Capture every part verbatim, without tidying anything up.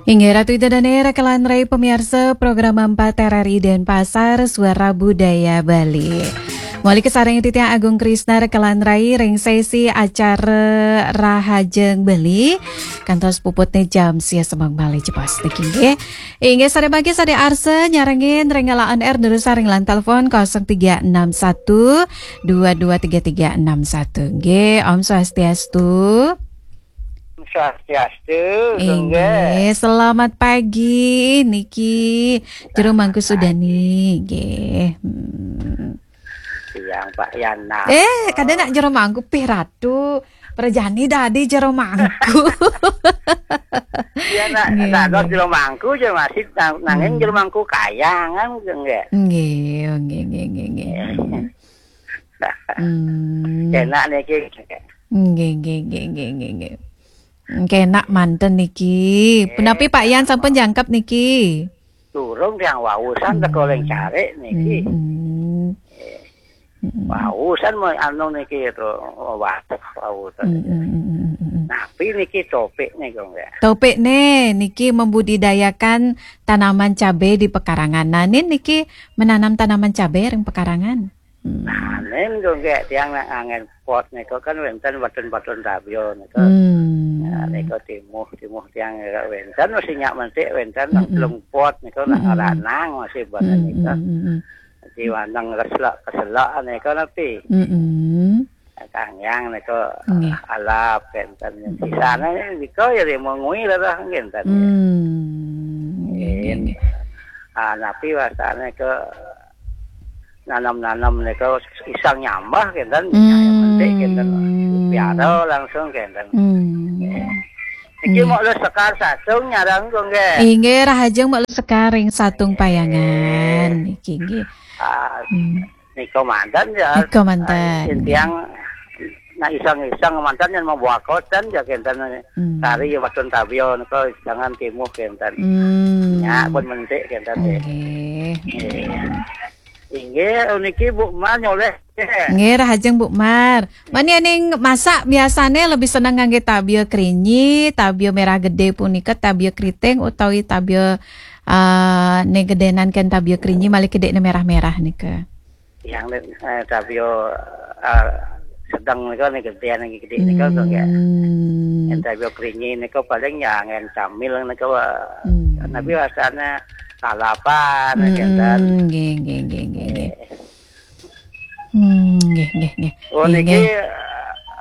Inggih Ratu Ida Dane rekelan rai pamiarsa program empat R R I Denpasar, Suara Budaya Bali. Muli kasareng titiang Agung Krisna rekelan rai ring sesi acara Rahajeng Bali. Kantos puputne jam sia semeng malih jebos niki nggih. Inggih sare mangke sare arsa nyarengin ring L A N R durusang ring line telepon kosong tiga enam satu dua dua tiga tiga enam satu. Nggih, Om Swastiastu. Swastiastu, Inggih, selamat pagi niki. Jero Mangku Sudani, nggih. Hmm. Siang Pak Yana. Eh, kada nak jero Mangku pih Ratu. Prajani dadi jero Mangku. Ya nak Nggih, nak nggih. Jero Mangku je masih nang, nanging Hmm. Jero Mangku kayangan nggih. Nggih, nggih, nggih, nggih, nggih. Hmm. Enak niki. Nggih, nggih, nggih, nggih, nggih, nggih. Kenak manten niki. Nggih. Punapi Pak Yan sampun jangkep niki? Durung tiang wausan teko ring Hmm. Carik niki. Hmm. Hmm. Wausan mau anu niki to, waduh wausan. Hmm, hmm, hmm, hmm, hmm, hmm. Napi niki topik niku nggih? Topikne niki membudidayakan tanaman cabe di pekarangan. Nah, nin niki menanam tanaman cabe ring pekarangan. Hmm. Nah, nen kok nggih tiang nak ngangen pot niku kan wenten batun-batun tabia niku. Hmm. Nah, niku timuh, timuh tiang nggih wenten masih nyak mentik wenten nak Mm-mm. telung pot niku nak Mm-mm. ngaranang masih boten Mm-mm. niku. Mm-mm. Di waneng keselak-keselak niku napi? Mm-mm. Kangyang niku Nggih. alap kenten. Mm-mm. Sisane niku ya mengui lah dah kenten. Hmm. Nggih, nggih, Nggih. nggih. Ah, napi wastane ke nanam-nanam niku isang nyambah kenten, Hmm. Metik kenten. Piara langsung kenten. Hmm. Niki Hmm. mau le sekar sasung nyarang kok nggih. Inggih, rahajeng mau le sekar ring Satung Payangan. Nggih. Niki nggih. Ah, Hmm. nika manten ya. Nika manten. Ah, tiang nak iseng-iseng manten yang membawa koten ya kenten. Hmm. Tari ya watun tabia nika jangan timuh kenten. Hmm. Nya pun mentik kenten. Nggih. Nggih. Inggih, niki Bu Mar nyoleh. Nggih, rahajeng Bu Mar. Mani aning masak biasane lebih seneng ngangge tabia krinyi, tabia merah gede punika, tabia keriting utawi tabia, ah, ne gedenan ken tabia krinyi malih kedekne merah-merah nika. Yang eh, tabia eh, sedang nika ne gedean gede nika to nggih. Hmm. Yang tabia krinyi nika paling ya ngen camil nika Hmm. nabi rasane lalapan Hmm, kenten. Nggih, nggih, nggih, nggih, nggih. Eh, Hmm, nggih, nggih, nggih. Oh, Nggih, niki nggih.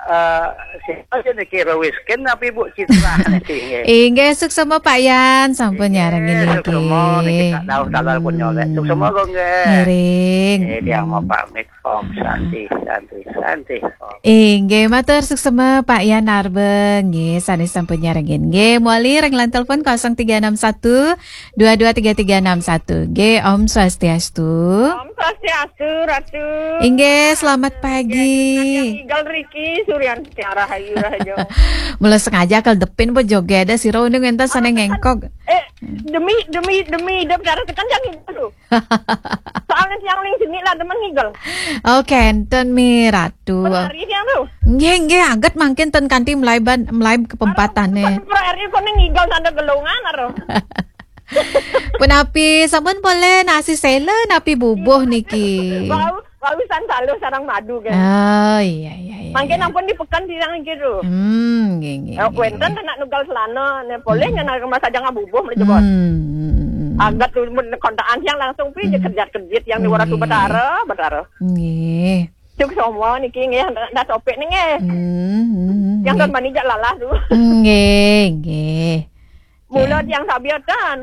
eh, siapa aja niki Rowiskin tapi Bu Citra niki nggih. Inggih, suksema Pak Yan, sampun Nggih, nyarengin niki. Suksema niki tak tahu talar pun nyolek. Suksema kok nggih. Ngiring. Eh, dia mau Hmm. pamit. Om Santi, Santi, Santi. Om. Inggih, matur suksema Pak Yan Arbe nggih, sane sampun nyarengin. Nggih, muli ring line telepon kosong tiga enam satu dua dua tiga tiga enam satu. Nggih, Om Swastiastu. Om Swastiastu, Ratu. Inggih, selamat pagi. Yang Igal Riki, Suryan Tiara Hayu Rahajo. Mula sengaja kal depin po joget ada sira undung enten sane ngengkog. Eh, demi, demi, demi, dia bicara tekan jangan gitu. Soalnya tiang ning sini lah teman ngigel. Oh, kenten mi Ratu. Penari tiang tu. Nggih, nggih, aget mangkin ten kanti mlai ban, mlai ke pempatane. Penari kok ning ngigel sanda gelongan aro. Punapi sampun poleh nasi sela napi bubuh niki? Wau, wau san saluh sarang madu kan. Oh, iya, iya, iya. Mangkin iya. Ampun di pekan tiang gitu. Hmm, nggih, nggih, Eh, nggih, wenten nggih. Nak nugal selana, ne poleh Hmm. Nyan rumah saja ngabubuh meli jebos. Hmm, hmm, hmm, hmm. Agat tu men kontaan tiang langsung pi je Hmm. Kerjat-kerjit yang di Waratu Nggih. Betara, Betara. Nggih. Cuk semua niki nggih, dah topik ni nggih. Hmm, hmm, Yang nggih. Kan mani jak lalah tu. Nggih, nggih. Mula Nggih. Tiang tabia tan.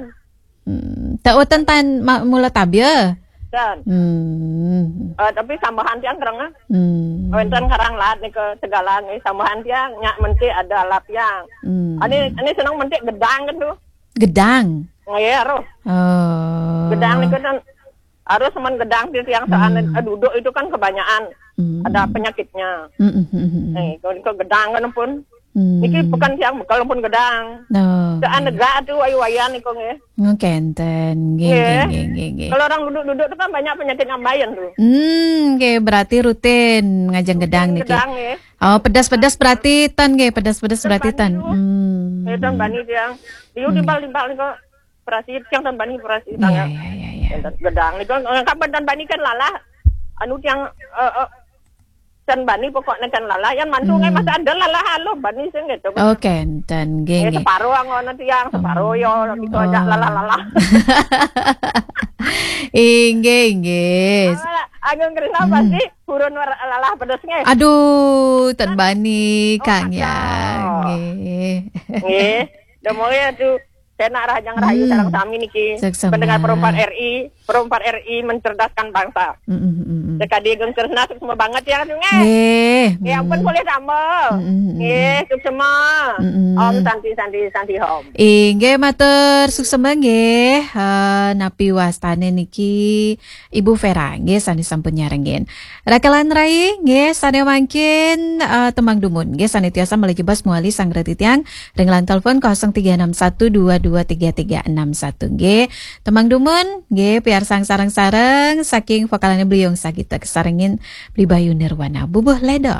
Hmm, tak weten tan ma-, mula tabia? Tan. Hmm. Eh, tapi sambahan tiang kereng ah. Hmm. Wenten karang laat ni ke segala ni sambahan tiang nyak mentik ada alap tiang. Hmm. Ani, ani senang mentik gedang kan tu. Gedang? Nggih, aruh. Oh. Gedang ni kan harus semen gedang di tiang saan, Hmm. Eh, duduk itu kan kebanyakan Hmm. Ada penyakitnya. Hmm, hmm, hmm, hmm. Eh, kalau ke gedang kan pun. Hmm. Niki bukan tiang bekal pun gedang. Oh, saan nggih. Negak tu ayu wayan ni kong eh. Ngkenten, nggih, nggih, Nggih. Nggih, nggih, nggih. Kalau orang duduk-duduk tu kan banyak penyakit ngambayan tu. Hmm, nggih, berarti rutin ngajeng gedang niki. Gedang, nggih. Oh, pedas-pedas berarti ten nggih, pedas-pedas berarti ten. Tempat tu. Hmm. Eh, tan bani tiang. Yu timbal-timbal niko operasi, tiang tan bani operasi Iya, tangan. Iya, iya, iya. Gedang niko, kapan tan bani kan lalah. Anu tiang, eh, eh, tan bani pokoknya kan lalah. Yang mantu ngai masa ada lalah halo bani sing gitu. Oke, enten Eh, gini. Separo angon tiang, separo yo, gitu aja Oh. lalah-lalah. Inggih, inggih. Agung Krisna pasti burun war- lalah pedes nggih. Aduh, tan bani Kang ya. Oh. Nggih. Nggih. Demoke tuh saya nak rahajang rahayu Hmm. sareng sami niki. Suksma. Pendengar Perempuan R I, Perempuan R I mencerdaskan bangsa. Mm, mm, mm, mm. Sekali Agung Krisna suksma banget ya, Agung, eh. Nggih. Ya ampun, boleh tambah. Mm, mm, mm. Nggih, suksma. Mm, mm. Om Santi, Santi, Santi Om. Inggih, matur suksma nggih. Eh, napi wastane niki Ibu Vera nggih sane sampun nyarengin. Rakalan rai nggih sane mangkin eh, tembang dumun nggih sane tiasa malih jebos muali sang reti tiang ring line telepon kosong tiga enam satu dua dua tiga tiga enam satu nggih. Tembang dumun nggih piarsang sareng-sareng saking vokalane Beli Yong Sagita kesarengin Beli Bayu Nirwana. Bubuh Ledo.